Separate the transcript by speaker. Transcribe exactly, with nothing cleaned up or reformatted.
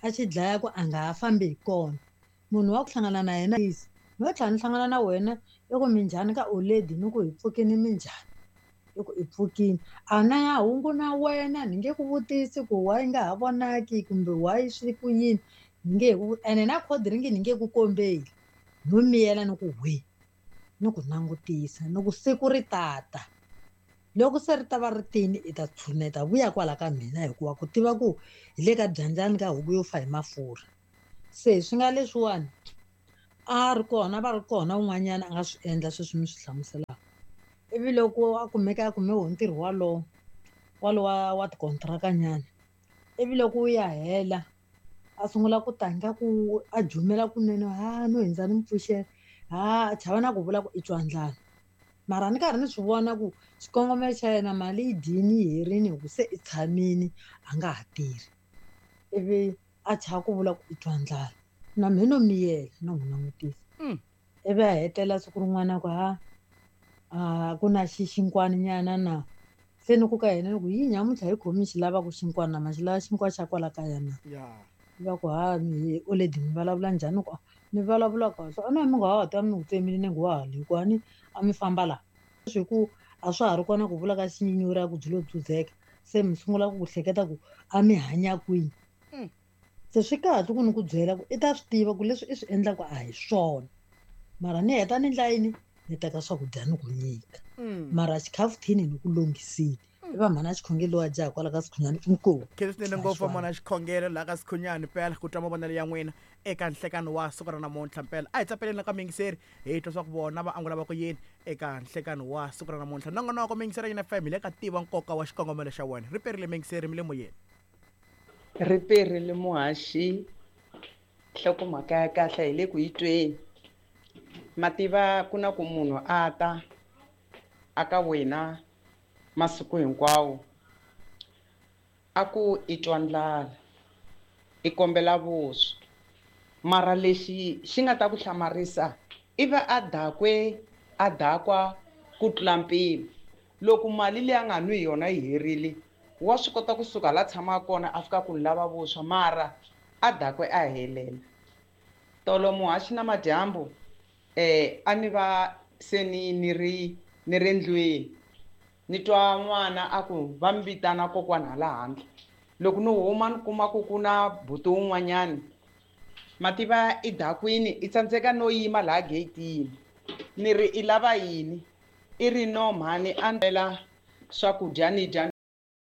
Speaker 1: A xi dlaya ku a nga ha fambi hi kona. Munhu wa ku hlangana na yena no tlhela ni hlangana na wena i ku minjhani ka oledi ni ku hi pfukini minjhani i ku i pfukini a na ya hungu na wena ni nge ku vutisi ku why nga ha vonaki kumbe why swi ku yini ni nge ku ene na cold drink ni nge ku kombeli no miyela ni ku hwi ni ku langutisa ni ku siku ri tata loko se ri ta va ri tini i ta tshuneta vuya kwala ka mina hikuva ku tiva ku hi le ka byandzani ka huku yo fa hi mafurha se swi nga leswiwani a ri kona va ri kona un'wanyana a nga swi endla sweswi mi swi hlamuselaka ivi loko a kumeka a kume wo ntirho walowo walowo wa wa tikontiraka nyana ivi loko wu ya hela a sungula ku tanga ku a jumela kunene ha no hindza ni mi pfuxela ha a chava na ku vula ku i twa ndlala mara ni karhi ni swi vona ku xikongomelo xa yena mali yi dyini yi herini hi ku se i tshamini a nga ha tirhi ivi a chava ku vula ku i twa ndlala na mehe no miyela no n'wi langutisa ivi a hetelela siku rin'wana ku ha a ku na xi xinkwani nyana na se ni ku ka yena ni ku yi nyamuntlha hi khomi xi lavaka xinkwana na ma xi lava xinkwa xa kwala kaya na va ku ha mi oledi mi vulavula njhani ku mi vulavula kahle a na mi nga ha ta mi ku tsemile nenge wa ha le ku a ni a mi famba laha swi ku a swa ha ri kona ku vula ka xinyanyuri ku byi lo dzudzeka se mi sungula ku hleketa ku a mi hanya kwini se swi kahle ku ni ku byela ku i ta swi tiva ku leswi i swi endlaka a hi swona mara ni heta ni ndla yini ni teka swakudya ni ku nyika mara xikhafuthini ni ku lunghisile i va mhana xikhongelo wa dya kwala ka Sikhunyani inkomu
Speaker 2: khensa swinene ngopfu mhana xikhongelo laha ka Sikhunyani mpela ku twa mavonelo ya n'wina eka nhlekano wa siku ra namuntlha mpela a hi tsapeleni ka miyingiseri hi twa swa ku vona va angula va ku yini eka nhlekano wa siku ra namuntlha nongonoko miyingiseri ya F M hi le ka tiva nkoka wa xikongomelo xa wena ri perile miyingiseri mi le moyeni
Speaker 3: ri perile muhaxi nhlokomhaka ya kahle hi le ku yi tweni mativa ku na ku munhu a ta aka wena masiku hinkwawo a ku i twa ndlala i kombela vuswa mara lexi xi nga ta ku hlamarisa i va a dakwe a dakwa ku tlula mpimo loko mali leyi a nga nwi yona yi herile wa swi kota kusuka la tshamaka kona a fika ku ni lava vuswa mara a dakwe a helela tolo muhaxi na madyambu eh a ni va se ni ni ri ni ri ndlwini ni twa n'wana a ku va mi vitana kokwana hala handle loko ni huma ni kuma ku ku na buti wun'wanyani mativa i dakwini i tsandzeka no yima laha geyitini ni ri i lava yini i ri no mhani a ndlela swakudya ni dya